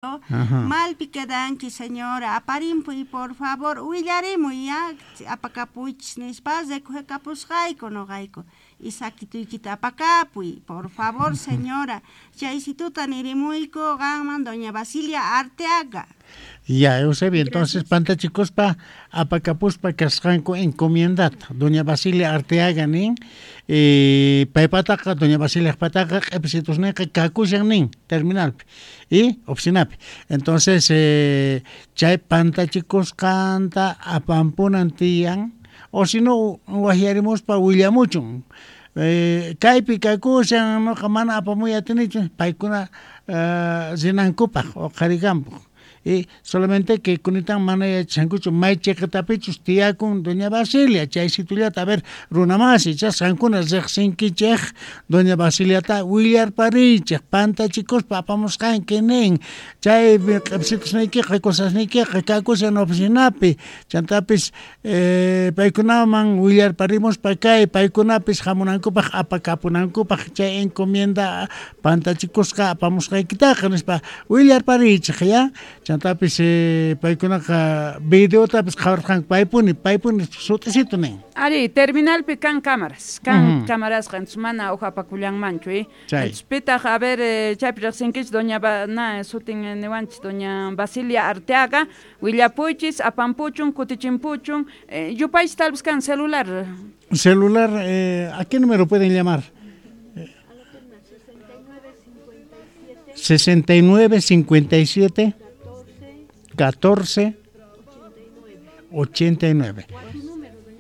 Malpi quedanki, señora, aparimpuy, por favor, willarimuy ya, apakapuychis nispa recogekapusqayku noqayku. Isakituykita apakapuy, por favor, señora. Chaysituta nirimuyku qanman, doña Basilia Arteaga. Ya, Eusebio, entonces pantachikuspa apakapuspa kasqanku encomiendata. Doña Basilia Arteaga nin, paypataqa, doña Basiliajpataqa q'ipisitusniyqa kakushan nin terminalpi y oficinapi. Entonces, chay pantachikusqanta apampunan tiyan, o si no wajyarimuspa willamuchun. Kaypi kakushan, noqa mana apamuy atinichu, paykuna rinankupaq uqharikanpaq. Y solamente que kunitan mana yachashankuchu may chiqitapichus tiyakun doña Basilia, chay situllata, a ver, runamasi, chasqankuna riqsinkichej doña Basiliata willarpariychej, pantachikuspa apamusqanki nin, chay q'ipsitusniykiqa, cosasniykiqa kakushan oficinapi, chantapis paykunaman willarparimuspa kay paykunapis hamunankupaq apakapunankupaq chay encomienda pantachikusqa apamusqaykitaqa nispa willarpariychej ya. Chantapis paykunaqa videotapis qhawarqanku paypuni, paypuni sut'isitu nin. Ari, terminalpi kan cámaras, kan cámarasqa, entonces mana uj apakullanmanchu, eh. Chay. Entonces pitaq, a ver, chaypi riqsinkichis doña na sutin niwanchis doña Basilia Arteaga, willapuychis, apampuchun, kutichimpuchun, yupaychis tal vez kan celular. Celular, ¿a qué número pueden llamar? 69 57 14 89.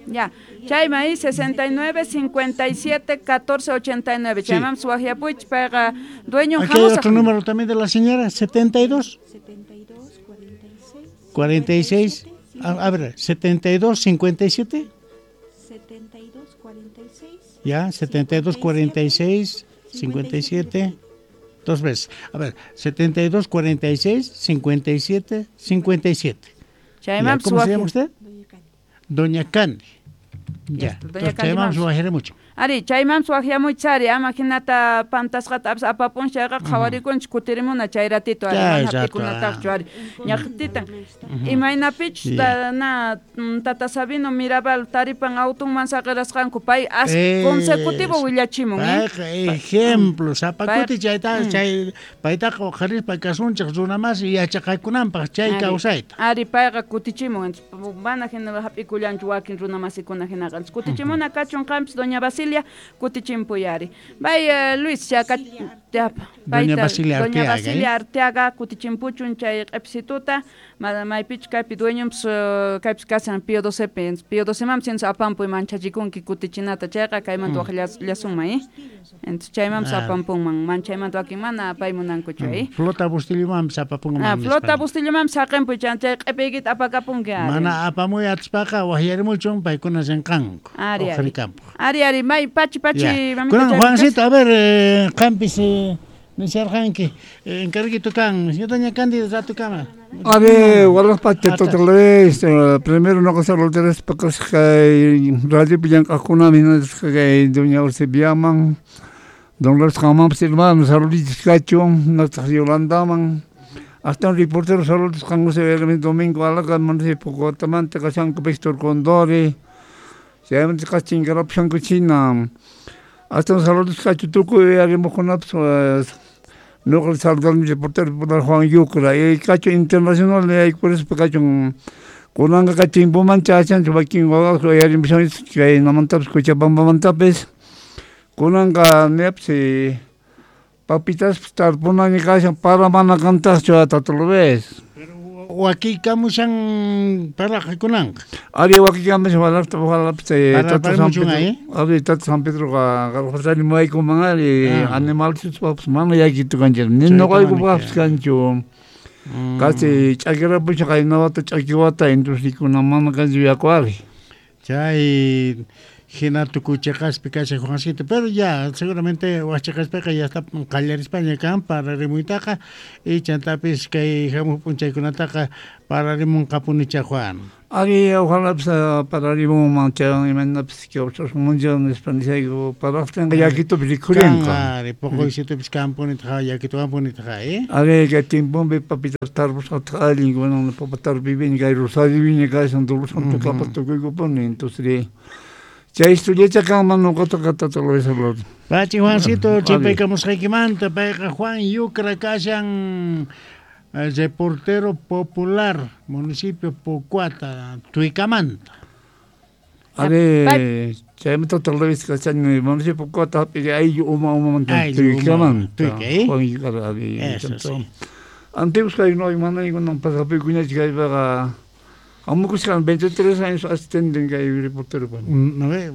Ya, chayman ahí 69 57 14 89. Sí. Chayman suajiapuich, payqa dueño Aquí hay jamusaq. otro número también de la señora, 72. 72, 46. 46, a ver, 72, 57. 72, 46. Ya, 72, 46, 57, dos veces. A ver, 72, 46, 57, 57. Chayman Ya, ¿cómo se llama suaji- usted? Doña Candy. Ya, Ya, doña entonces, Candy chayman vamos. suajiere mucho. Ari, chayman suajiamuychari, ama hinata pantasqata apis apapun chayqa qhawarikunchis kutirimuna chay ratito, ari, Chay mana rato, hap'ikunataqchu, ari. Ñaqtitan. Imaynapichus na, tata Sabino Mirabal taripan autunman saqirasqanku, pay as consecutivo willachimun, eh? Payqa ejemplo, sapa Pay- kuti chayta, chay paytaqa uqharispa kasunchik runa masi yachaqakunanpaq chay Ari, kawsayta. Ari, payqa kutichimun, entonces, mana hina hap'ikullanchu wakin runa masikuna hinaqa. Entonces, kutichimuna kachun qampis, doña Basilia, kutichimpuy ari. Bay, Luis, ya ya, Doña payta, Basilia doña Arteaga, Basilia ¿eh? Arteaga, kutichimpuchun chay q'ipsituta, maypichu kaypi dueñonpis, kaypis kashan Pío docepi, entonces, Pío docemanpis entonces apampuy manchachikunki kutichinata chayqa kaymanta waj llasunman, ¿eh? Entonces, chaymanpis apampunman, manchaymanta wakin mana apaymunankuchu, ¿eh? Flota Bustillomanpis apapunman Ah, nispa. Flota Bustillomanpis saqinpuy, chay q'ipiykita apakapunki, ari. Mana apamuy atispaqa wajyarimuchun paykuna rinqanku, Ari, ari. uqharikampuq. Ari, ari, may pachi, pachi, Ya. mamita Kunan, chaypi Juancito, a ver, qampis, nisharqanki, encarguito kan, señor doña Cándida, rato kama. A ver, walaj pacha, Ata. total vez, primero no cosa lo tres pocos que radio pillan cajuna, mi no es que doña Eusebiaman, don Los Jamán, hermanos, saluditos cacho, nuestra Yolanda man, hasta un reportero saludos con se ve el domingo a la cama, se poco tamante casan con Víctor Condori, se llama cachín corrupción cochina, hasta un saludos cacho tuco y haremos con no el saludar mi reportero por Juan Yucra y cacho internacional y por eso cacho kunanga kachimpuman chachan chupakin wawaqa uyarinpis kay namantapis Cochabambamantapis kunanqa niyapis papitaspas tarpunani kashan para mana kantaqchu tata Luis. Wakiykamushan paraqa kunanqa. Ari wakiykamushan walaqta walapis Para tata San parimuchun Pedro. ahí. Ari tata San Pedroqa qarqusani muwaykuman ari animalchus mana yakitu kanchik. Ni Chayta nuqaykupaqpis mana kanchu. Kasi ch'akirapusha qayna wata ch'aki wata industrikuna mana kanchu yaku ari. Chay Hina tukuy cheqaspi kashan Juancito, pero ya seguramente waj cheqaspiqa ya está qallarispaña kan pararimuytaqa y chantapis kay hamuq p'unchaykunataqa pararimunqapunicha Juan. Ari ojalá pararimunman chay imaynapis kawsasunmancha nispa nishayku paraqtinqa yakitupi rikhurinqa. Ari poqoysitupis kanpunitaqa yakituwanpunitaqa, eh? Ari kay tiemponpi papita tarpusqataq allin kunan papa tarpuypiña kay Rosariopiña kashan Dolores Santo tukuykupuni entonces chay estudiacha kanman noqataqa tata Luis Salvador. Pachi Juancito chimpaykamusqaykimanta payqa Juan Yucra kashan reportero popular municipio Pocoata Tuicamanta. Ari chaymanta tata Luis kashan municipio Pocoata hap'iqa ayllu uma umamanta Tuicamanta. Juan Yucra ari. Antiguos kay no manaykunan pasapikuñachu kaypaqa Amukuskan 23 años asistente kay reportero. ¿No ve?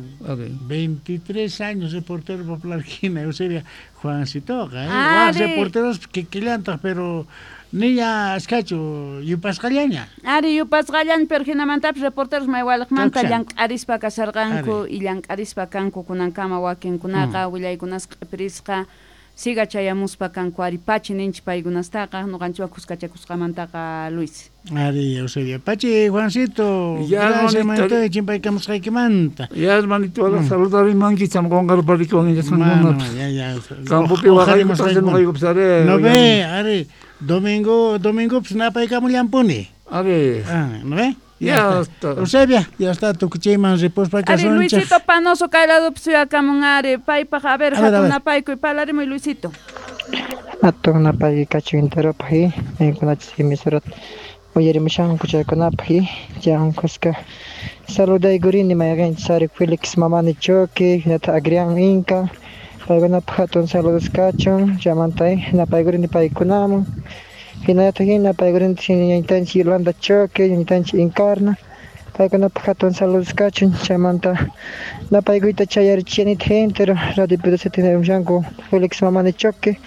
23 años reportero popular hina, Eusebia Juancitoqa, ¿eh? Waj reporteros kikillantaq, pero niña askachu yupasqallaña. Ari yupasqallaña, pero hinamantapis reporteros maywaliqmanta llank'arispa kasarqanku y llank'arispa kanku kunankama wakinkunaqa willaykunasqa q'ipirisqa siga chayamuspa kanku ari pachi ninchik paykunastaqa ñuqanchikwan kuskachakusqamantaqa Luis. Ari Eusebia. Pachi Juancito, gracias manito chimpaykamusqaykimanta. Ya hermanito, saludarimanki chamqonqarparikuwan ya ya. Campopi waqaykusqayku ari. No ve, ari domingo pis napaykamullampuni. Ari. ¿No ve? Ya está. Eusebia, ya está tukuchayman ripuspa kasunchik. Ari Luisito Panoso kay ladopi suyakamun ari paypaq a ver hatun napaykuy parlarimuy Luisito. Hatun napaykuy kachun enteropaq maykunachus emisorat uyarimushanku chaykunapaq chay kuska saludaykurini mayqinchis ari Felix Mamani Choque hinataq Agrián Inca paykunapaq hatun saludos kachun chaymanta napaykurini paykunaman hinallataq hina paykurinchik ñañitanchik Yolanda Choque ñañitanchik Encarna paykunapaq hatun saludos kachun chaymanta napaykuyta chayarichinitaq entero Radio P12 tinarimushanku Felix Mamani Choque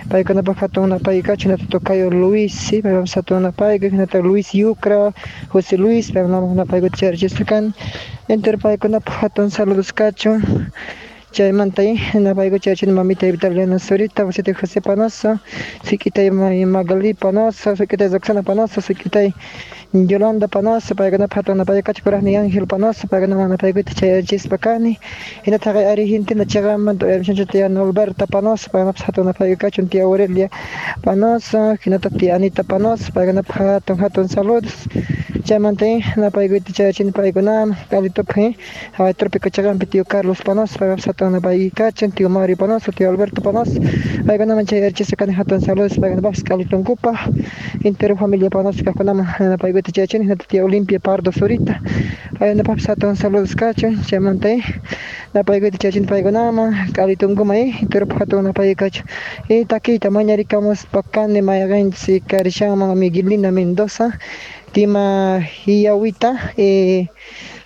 paykunapaq hatun napaykuy kachun hinataq tocayo Luis paypapas hatun napaykuy hinataq Luis Yucra José Luis paykunaman napaykuyta chayarichisqa kani entero paykunapaq hatun saludos kachun chaymanta napaykuy chayarachini mamita Vitaliana Zurita wasitay José Panoso suk'itay Magali Panoso suk'itay Roxana Panoso suk'itay Yolanda Panoso paykunapaq hatun napaykuy kachun kuraqniy Ángel Panoso paykunaman napaykuyta chayarichispa kani hinataq Argentina chaqamanta uyarimushanchik tía Norberta Panoso paykunapas hatun napaykuy kachun tía Aurelia Panoso hinataq tía Anita Panoso paykunapaq hatun hatun saludos chaymanta napaykuyta chayarachini paykunaman Calitopi haway Trópico chaqampi tío Carlos Panoso paykunapas hatun napaykuy kachun tío Mario Panoso tío Alberto Panoso paykunaman chayarichispa kani hatun saludos paykunapapas Calitonkupaq entero familia Panoso kaqkunaman napaykuyta chayarachini hinataq tía Olimpia Pardo Zurita paykunapapas hatun saludos kachun chaymanta napaykuyta chayarachini paykunaman Calitonkuma enteropaq hatun napaykuy kachun y takiyta mañarikamuspa kani mayqinchis karishanman Miguelina Mendoza tima Hiawita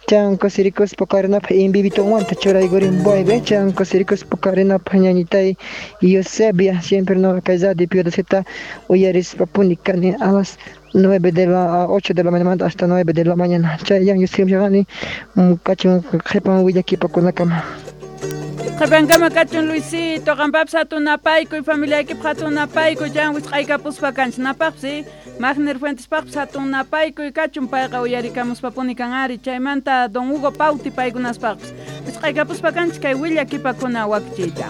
chanko sirikuspa karinapaq imbibitunwanta churaykurinpuaypi chanko sirikuspa karinapaq ñañitay Eusebia siempre no kay Radio Pío XII uyarispapuni kani a las 8 de la mañana hasta 9 de la mañana chayan yusrimshaqani kachun qhipan willakipakunakama. Qhipankama kachun Luisito, qampapis hatun napaykuy familiaykipaq hatun napaykuy chan wisq'aykapuspa kanchik napaqpis Magner Fuentespaqpis hatun napaykuy kachun payqa uyarikamuspapuni kan ari chaymanta don Hugo Pauti paykunaspaqpis wisq'aykapuspa kanchik kay willakipakuna wakichiyta.